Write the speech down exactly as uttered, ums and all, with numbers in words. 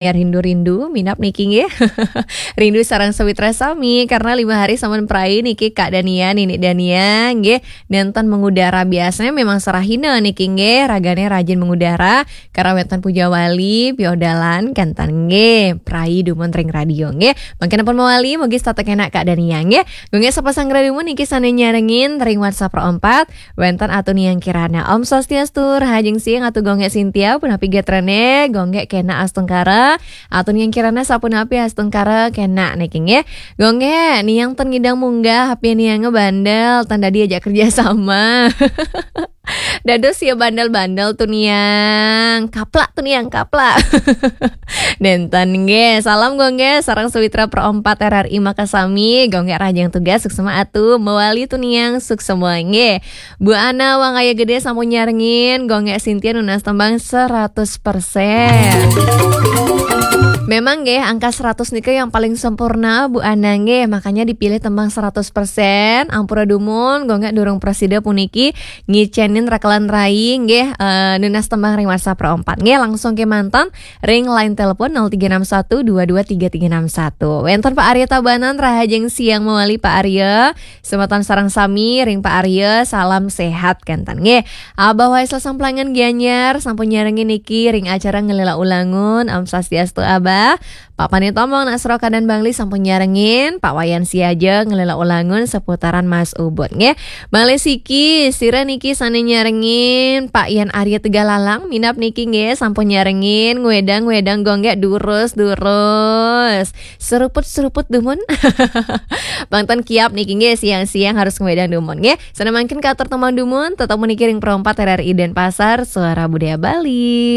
Ya, rindu-rindu, minab niki nggih. Rindu sareng sawitra sami, karena lima hari sampun prai niki Kak Dania, Nini Dania nggih, nenten mengudara. Biasanya memang serahina niki nggih, ragane rajin mengudara, karena wenten puja wali, piodalan, kenten nggih, prai dumun ring radio nggih. Mangkin ampun mawali, mugi setata kenak Kak Dania nggih. Gung Gek sapa sang dumun niki sane nyarengin ring WhatsApp ro empat, wenten Atu Niang Kirana. Om Swastiastu, rahajeng siang Atu Gung Gek Sintia, punapi gatrane, Gung Gek kenak astungkara. Atu Niang Kirana sapunapi astungkara kenak niki nggih. Gung Gek, Niang ten ngidang munggah, H P Niange bandel, tanda diajak kerja sama. Dados ya bandel-bandel tuh Niang. Kaplak tuh Niang, kaplak. Nenten nggih. Salam Gung Gek, sareng sawitra pro empat R R I makasami. Gung Gek rahajeng tugas, suksema Atu. Mawali tuh Niang, suksema nggih. Bu Ana Wangaya Gede sampun nyarengin, Gung Gek Sintia nunas tembang seratus persen. Memang nggih, angka seratus nika yang paling sempurna, Bu Ana nggih, makanya dipilih tembang seratus persen. Ampura dumun, Gung Gek durung prasida puniki ngicenin rekelan rai nggih, eh, nunas tembang ring WhatsApp pro empat nggih, langsung kemanten ring line telepon nol tiga enam satu dua dua tiga tiga enam satu. Wenten Pak Arya Tabanan, rahajeng siang mawali Pak Arya. Semeton sareng sami ring Pak Arya, salam sehat kenten nggih. Abah Waisel Samplangan Gianyar sampun nyarengin niki ring acara Ngelila Ulangun. Om Swastiastu Abah. Pak Panitombong nak Seroka dan Bangli sampun nyarengin, Pak Wayan Siaja Ngelila Ulangun seputaran Mas Ubud nggih. Malih siki, sira niki sane nyarengin, Pak Yan Arya Tegalalang, minab niki nggih sampun nyarengin, ngwedang-ngwedang Gung Gek durus-durus. Seruput-seruput dumun. Bang Tan Kiap niki nggih siang-siang harus ngwedang dumun nggih. Sane mangkin katur tembang dumun, tetep puniki ring pro empat R R I Denpasar, Suara Budaya Bali.